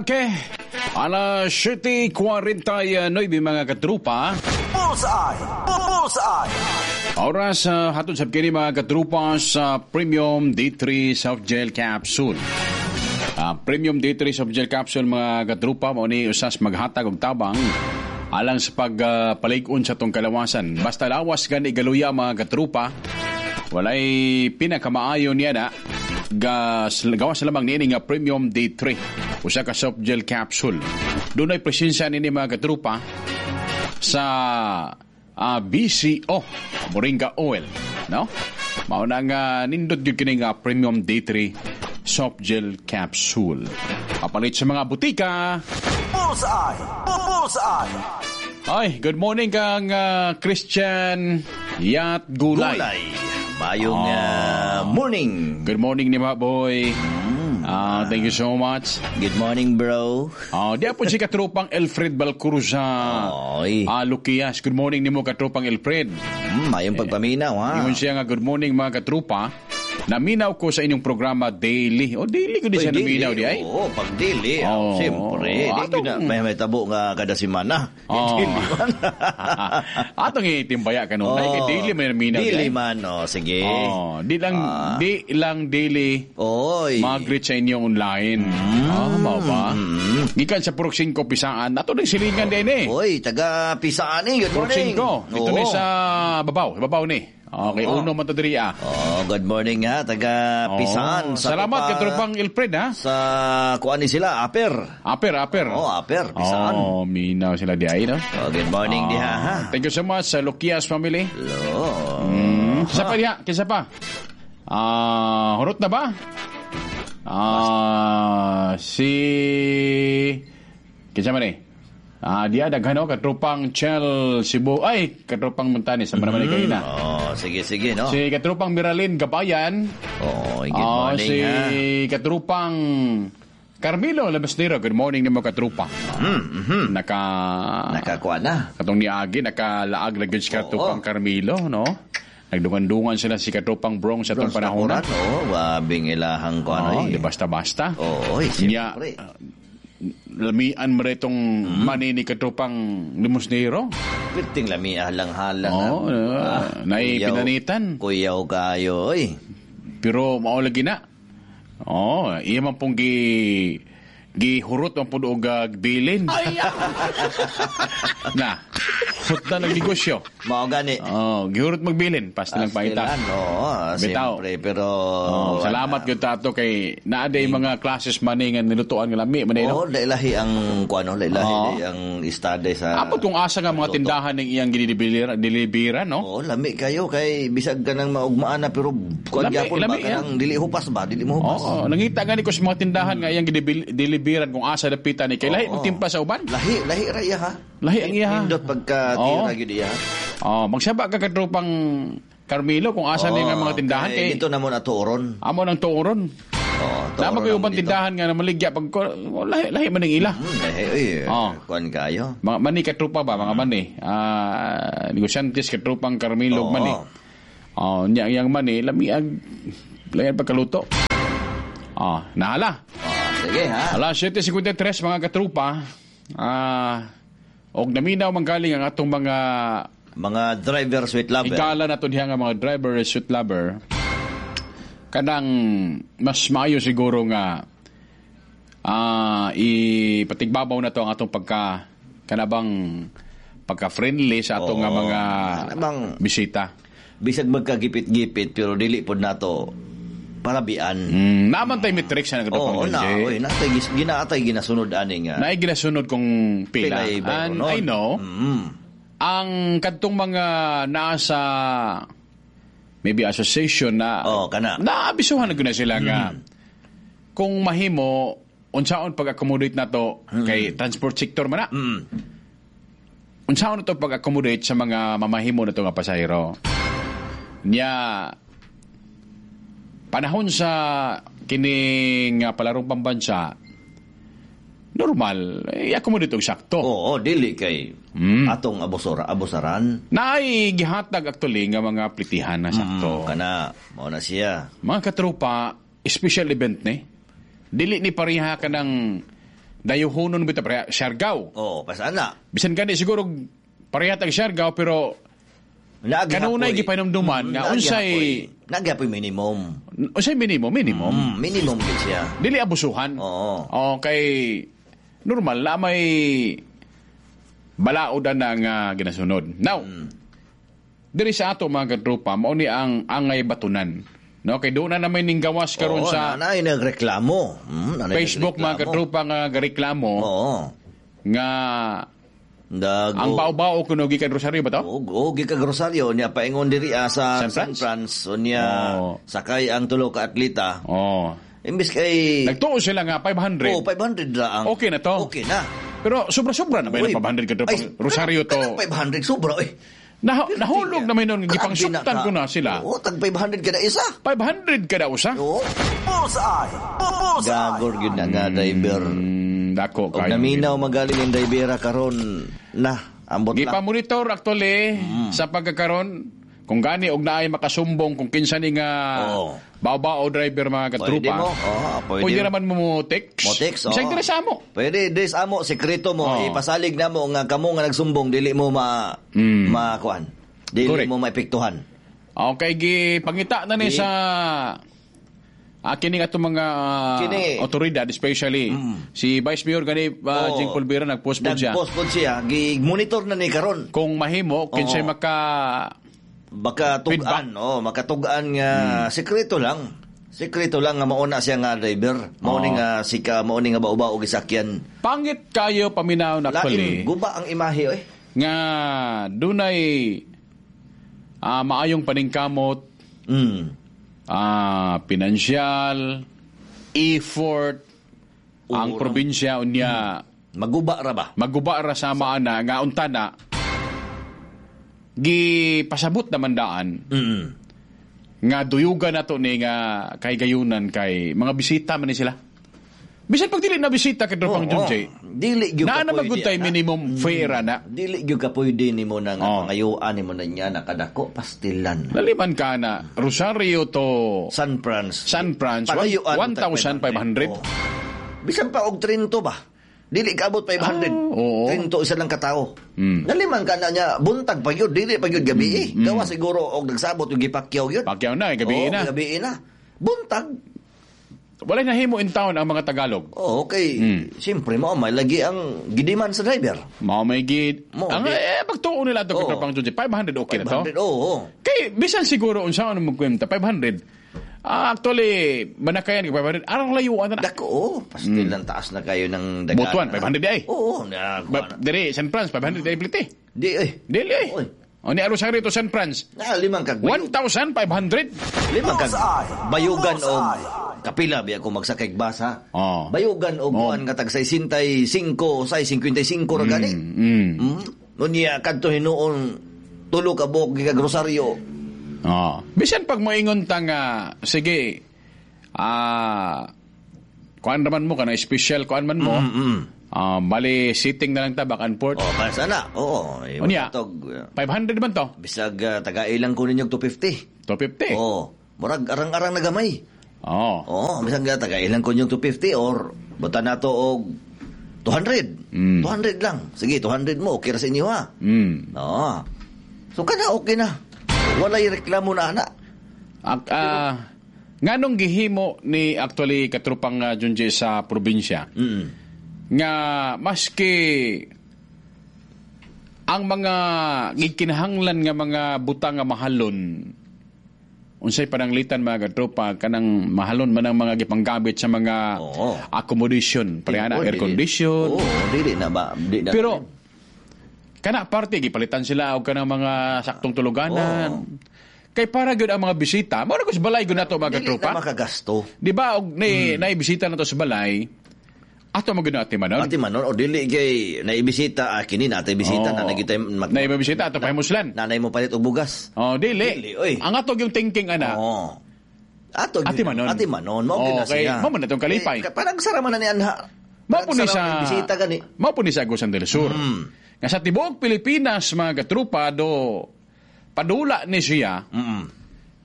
Okay. Alas 7:49, mga katrupa. Bullseye! Bullseye! Oras sa hatod sa kini, mga katrupa, sa Premium D3 Soft Gel Capsule. Premium D3 Soft Gel Capsule, mga katrupa, mao ni usas maghatag og tabang alang sa pagpalig-on sa tong kalawasan. Basta lawas gani galuya, mga katrupa, walay pinakamaayo niya na gas gawas lamang niini nga Premium D3, usa ka soft gel capsule. Dunay presensya nini, mga katrupa, sa BCO Moringa Oil, no? Mao na nga nindot gyud kini nga Premium D3 Soft Gel Capsule. Kapalit sa mga butika. Bullseye! Bullseye! Ay, good morning kang Christian Yat Gulay. Gulay. Mayong morning. Good morning ni mga boy. Thank you so much. Good morning, bro. Oh, di po si katrupang Alfred Balcursa. Oy. Lukias. Good morning nimo, katrupang Alfred. Mayong pagpaminaw, ha. Ingon siya nga, "Good morning, mga katrupa. Naminaw ko sa inyong programa daily." Oh, daily ko di Uy, siya naminaw di ay. Oo, pag daily, Oo. siyempre. Di ko na, may tabo nga kada semana. Oo. Daily man. Atong itimbaya ka nun. Ay, kay daily may naminaw di Daily ay. man, oh, sige. Oh, di lang daily Oy. mag-greet sa inyong online. Ah, mao ba? Gikan sa Purok 5 Pisaan. Ato ning silingan din eh. Oy, taga Pisaan eh. Good Purok morning. 5. Dito ni sa babaw, babaw ni. Okay, uno man to diri ah. Oh, good morning ha, taga Pisaan. Oh, Sa salamat pa- kay Tropang Ilfred ha. Sa kuan ni sila, Aper. Aper, aper. Oh, Aper, Pisaan. Oh, minaw sila di ay, no? Oh, good morning diha ha. Thank you so much sa Lukias family. Hello. Kisa pa diha, kisa pa. Hurot na ba? Si kinsa man eh? Diya daghan oh, katropang Chel Cebu. Ay, katropang Montanes, sama naman mm na. Oh, sige sige no. Si katropang Miralin Gabayan. Oh, good morning si ha. katropang Carmelo Labastero. Good morning nimo, katrupa. Naka Nakakuha na. Katong niagi nakalaag na gyud si katropang Carmelo, no? Nagdungan-dungan sila si katropang Brong sa atong panahon. Kuran, oh, wabing ilahang kuan Oh, oy. di basta-basta. Oo, oy, Nya, siyempre. Lamian mo itong mani ni katropang Limosnero. Piting lami halang-halang. Oo, naay Kuyaw. pinanitan. Kuyaw kayo, oy. Pero mao lagi na. Oh, iya man pong gihurot man pud og bilin. Na. Hurot na ng negosyo. Mao gani. Oh, gihurot magbilin, pasta lang paita. Pastilan, oo, Bitaw. siyempre, pero Oh, salamat gyud tato kay naa day mga classes man nga nilutuan nga lami man Oo, no. lailahi ang kuano, lailahi ang istade sa Apot kung asa nga mga luto. tindahan ng iyang ginidelibera, delibera, no? Oo, lami kayo kay bisag ka nang maugmaan na pero kuan Lami, gyapon ba lami, kanang dili hupas ba, dili mo hupas. Oo, nangita gani ko sa mga tindahan nga iyang gideliveran kung asa dapitan ni kay lahi magtimpla sa uban. Lahi, lahi ra iya ha. Lahi ang iya ha. Nindot pagka tira gyud iya. Oh, magsaba ka katropang Carmelo kung asa ni nga mga tindahan kay kay dito na mo na tuoron. Amo nang tuoron. Oo, Nama tuoron kayo namo ubang dito. tindahan nga namaligya pag lahi lahi man ang ila. Lahi oy. Oo. Kuan kayo. Mga mani katrupa ba, mga mani. Negosyante katropang Carmelo Oo. mani. Oh, nya yang mani lami ag layan pagkaluto. Oh, nahala. Oh, sige ha. Alas 7:53, mga katrupa. Og naminaw man galing ang atong mga Mga driver sweet lover. Igala na to diha nga mga driver sweet lover. Kanang mas maayo siguro nga ipatigbabaw na to ang atong pagka kanabang pagka-friendly sa atong nga mga bisita. Bisag magkagipit-gipit pero dili pod nato parabian. Naman tay metrics na Oo, na, oy, natay ginaatay ginasunod ani nga. Naay ginasunod kung pila. Pilay And bayronon. I know, ang kadtong mga naa sa maybe association na oh, kana. Naabisuhan na gyud na sila nga kung mahimo unsaon pag-accommodate na to kay transport sector man na. Unsaon na to pag-accommodate sa mga mamahimo na to nga pasahero. Nya panahon sa kining palarong pambansa, normal i-accommodate og sakto. Oo, dili kay atong abusora, abusaran. Naay gihatag actually nga mga plitihan na sakto. Kana mao na siya. Mga katropa, special event ni. Dili ni pareha ka ng Dayuhonon bitaw pareha Siargao. Oh, pasana. Bisan gani siguro pareha tag Siargao, pero kanunay gipahinumduman nga unsay Nagyapoy minimum. Unsay minimum, minimum. Minimum gid siya. Dili abusuhan. Oo. Okay, normal na may balaodan na nga ginasunod. Now, diri sa ato, mga katropa, mao ni ang angay batunan. No, kay doon na naman ning gawas karon Oo, sa nanay nagreklamo. Nanay Facebook, mga nagreklamo. katropa, nga gareklamo nga Dago. ang bao-bao kuno gikan Rosario ba to? Oo, gikan Rosario niya paingon diri sa San San Franz? Franz unya sakay ang tulo ka atleta. Imbis kay Nagtuo sila nga 500. Oh, 500 ra ang. Okay na to. Okay na. Pero sobra-sobra na ba yung Uy, 500 ka ay, Rosario to? Kanang 500 sobra oy. Nahulog na may noon, gipangsuktan ko na sila. Oo, tag 500 kada isa. 500 kada usa? Oo. Bullseye! Bullseye! Gagor gyud na nga driver. Dako Og kayo. naminaw magaling ang drivera karon na ambot lang. Gipamonitor actually sa pagkakaron kung gani og naay makasumbong kung kinsa ni nga bao-bao driver, mga Pwede katrupa. mo. Oo, pwede. Pwede naman mo mo text. Mo text, oo. Bisag diri sa amo. Pwede des amo sekreto mo, Oo. ipasalig na mo nga kamo nga nagsumbong dili mo ma makuan. Dili Correct. mo maepektuhan. Okay, gi pangita na ni sa kining atong mga Kini. otoridad, especially si Vice Mayor gani Oo. Jing Pulvera, nagpost po siya. Nagpost po siya, gi-monitor na ni karon. Kung mahimo kinsay maka Baka tugan, oh, makatugan nga sekreto lang. Sekreto lang nga mauna siya nga driver. Mao ni nga sika, mao ni nga bao-bao gisakyan. Pangit kayo paminaw na actually. Lain guba ang imahe oy. Nga dunay maayong paningkamot, pinansyal, effort, ang probinsya unya maguba ra ba? Maguba ra sa maana nga unta na gipasabot naman daan nga duyugan nato ni nga kay gayunan kay mga bisita man ni sila. Bisan pag dili na bisita kay Tropang Oo. Junjay. Dili gyud Naa ka na pwede, magud tay ana. minimum fare na. Dili gyud ka pwede nimo na nga pangayuan nimo na niya nakadako pastilan. Laliman ka na Rosario to San Franz. San Franz Pangayuan 1,500. Oo. Bisan pa og 30 ba? Dili ka abot 500. Oo. 30 isa lang katao. Naliman ka na niya buntag pa gyud, dili pa gyud gabi eh. Gawa siguro og nagsabot og gipakyaw gyud. Pakyaw na, gabi Oo, na. Gabi na. Buntag. Wala nahimo in town ang mga Tagalog. Oh, okay. Siyempre mo may lagi ang gidiman sa driver. Mao may gid. Mao, Ang di. pagtuo nila ato Oo. kay Tropang Junjay, 500 okay na to. 500, oo. Kay bisan siguro unsa ano magkwenta 500. Actually manakayan kay 500 arang layuan na. Dako, oh, pastilan taas na kayo ng dagan. Butuan 500 di ay. Oo, na, Ba, diri San Franz 500 di ay plite. Di ay. Dili ay. O ni Rosario to San Franz. Na limang kag 1,500. Limang kag bayugan og kapila biya ko magsakay bus ha. Oh. Bayugan og kuan nga tag 65, 6.55 ra gani. Unya kadto hinuon tulo ka buok gikag Rosario. Oh. Bisan pag moingon ta nga sige kuan raman mo kana special kuan man mo. Bali sitting na lang ta back and forth. Oh, para sana. Oo, eh, Unya, matog. 500 man to. Bisag tagailang ko ninyo 250. 250. Oo. Murag arang-arang na gamay. Oo. Oo, bisag tagailang ko ninyo 250 or buta na to og 200. 200 lang. Sige, 200 mo okay ra sa inyo ha. Oo. So kana okay na. Walay reklamo na ana. Nganong gihimo ni actually katrupang Junjay sa probinsya nga maski ang mga gikinahanglan nga mga butang nga mahalon, unsay pananglitan, mga katropa, kanang mahalon man ang mga gipanggamit sa mga accommodation, pareha na Oo, air condition. Oo, dili na ba? Di na. Pero kana parte gipalitan sila og kanang mga saktong tuluganan. Kay para gyud ang mga bisita, mao na ko sa balay gyud nato, mga dili katropa. na makagasto. Di ba og ni naibisita nato sa balay, ato mo gyud na atimanon. Ati manon o dili kay naibisita kini na bisita na nagitay mag Naibisita ato pahimuslan. Nanay mo palit og bugas. Oh, dili. Dili, oy. Ang ato yung thinking ana. Oo. Ato Ati manon. Ati manon mao gyud na Okay, siya. mao man na tong kalipay. Eh, parang sara man na ni anha. Mao po ni Parang sa sara man bisita gani. Mao po ni sa Agusan del Sur. Nga sa tibuok Pilipinas, mga katrupa, do padula ni siya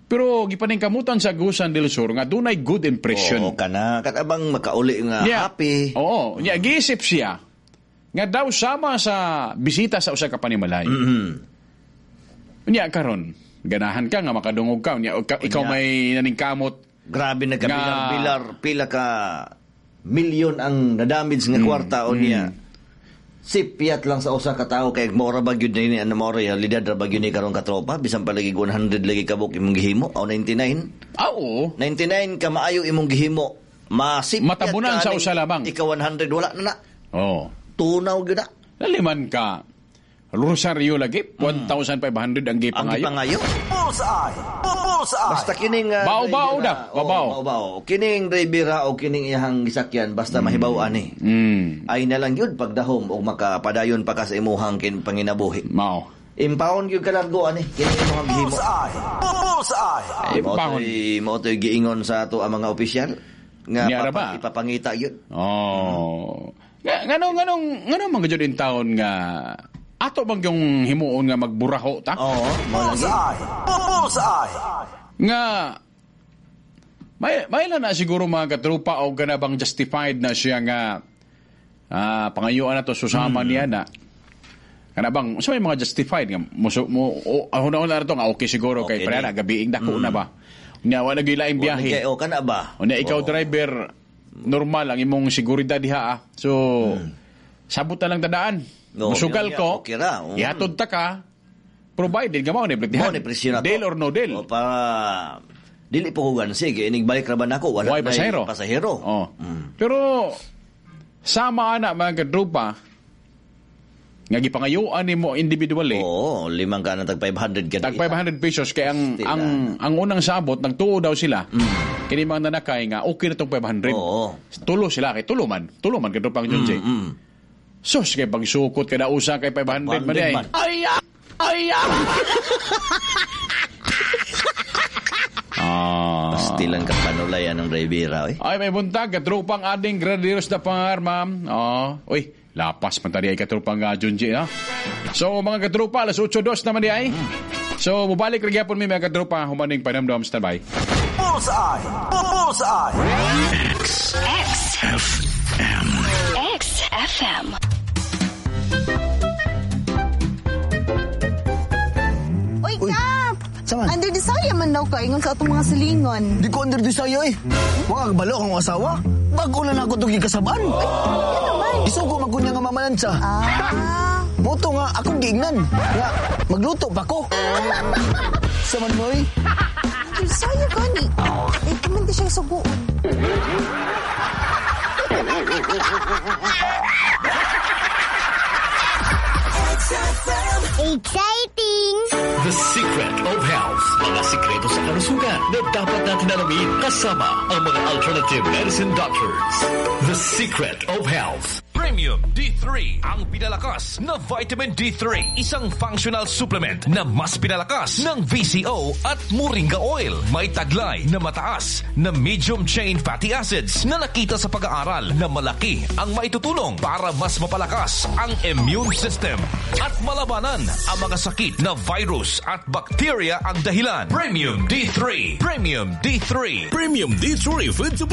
Pero gipaningkamutan sa Agusan del Sur nga dunay good impression. Oo, kana katabang makauli nga Nya, happy. Oo, nya giisip siya nga daw sama sa bisita sa usa ka panimalay. Nya karon, ganahan ka nga makadungog ka, nya ikaw Nya. may naningkamot. Grabe na kabilar-bilar, pila ka milyon ang na-damage nga kwarta o niya. Sipyat lang sa usa ka tawo kay mora ba gyud ni ano mora realidad ra ba gyud ni karon katropa bisan pa lagi 100 lagi kabuk imong gihimo o 99. Ah, oo. 99 ka maayo imong gihimo. Masipyat Matabunan ka sa aning usa lamang. Ika 100 wala na na. Oo. Tunaw gyud na. Laliman ka. Rosario lagi, 1,500 ang Ang gipangayo. gipangayo. Bullseye! Bullseye! Basta kining Bao-bao driver, na, bao-bao. Oo, bao-bao. Kining driver o kining iyahang gisakyan basta mahibaw ani. Ay na lang yun pagdahom o makapadayon pa ka sa imuhang panginabuhi. Mao. Impawon gyud kalargo ani kining imuhang gihimo. Bullseye! Bullseye! Ay, pahon. Mao to'y giingon sa ato ang mga opisyal nga Niya ra ba? ipapangita yun. Oh. Nganong mga jud in town nga ato bang yung himuon nga magburaho ta? Oo, mao lagi. Bullseye! Bullseye! Nga may na siguro mga katrupa o gana bang justified na siya nga pangayuan na to susama niya na. Kana bang sa may mga justified nga mo ahuna na to nga okay siguro Okay kay pre ni. na gabiing dako na ba. Nya wa nagilaing biyahe. Kay o kana ba? Unya ikaw Oo. driver normal ang imong seguridad diha ah. So sabot na lang tadaan. No, Musugal yun nga, ko. okay ra. Ihatod ta ka. Provided nga mao ni Mao ni presyo na to. Deal or no deal. O, para dili po ko gansi kay inig balik ra ba nako wala Why na'y pasahero? pasahero. Oh. Pero sama ana mga kadrupa nga gipangayuan nimo individually. Oo, limang ka na tag 500 kada Tag 500 pesos kay ang Still, ang ang unang sabot nagtuo daw sila. Kini mga nanakay nga okay na tong 500. Oo. Tulo sila kay tulo man. Tulo man kadrupang Junjay. Sus kay pagsukot kada usa kay 500 man 500 ay. man. Ay ay. Ah. Pastilan ka panulay anong driver eh. Ay, may buntag, katrupang ading Gradiros na pangar, ma'am. Oh, uy, lapas man tadi ay katrupang Junji, ha? So, mga katrupa, alas 8:02 naman di ay. So, mubalik rin gyapon mi mga katrupa, humaning panamdam, standby. Bullseye! Bullseye! X FM. X FM. Uy, Kap! Saman? Under desire man daw ka, ingon sa atong mga silingon. Di ko under desire eh. Wa kabalo akong asawa. Bago na nako itong gikasabaan. Yan naman. Isugo man ko niya nga mamalansya. Ah. Moto nga akong giingnan. Nga, magluto pa ko. Sa manoy. Under desire gani. Eh, kuman di siya suguon. Exciting! The Secret of Health. Mga sikreto sa kalusugan na dapat natin alamin kasama ang mga alternative medicine doctors. The Secret of Health. Premium D3 ang pinalakas na vitamin D3, isang functional supplement na mas pinalakas ng VCO at Moringa oil. May taglay na mataas na medium chain fatty acids na nakita sa pag-aaral na malaki ang maitutulong para mas mapalakas ang immune system at malabanan ang mga sakit na virus at bacteria ang dahilan. Premium D3, Premium D3, Premium D3 Food Supplement.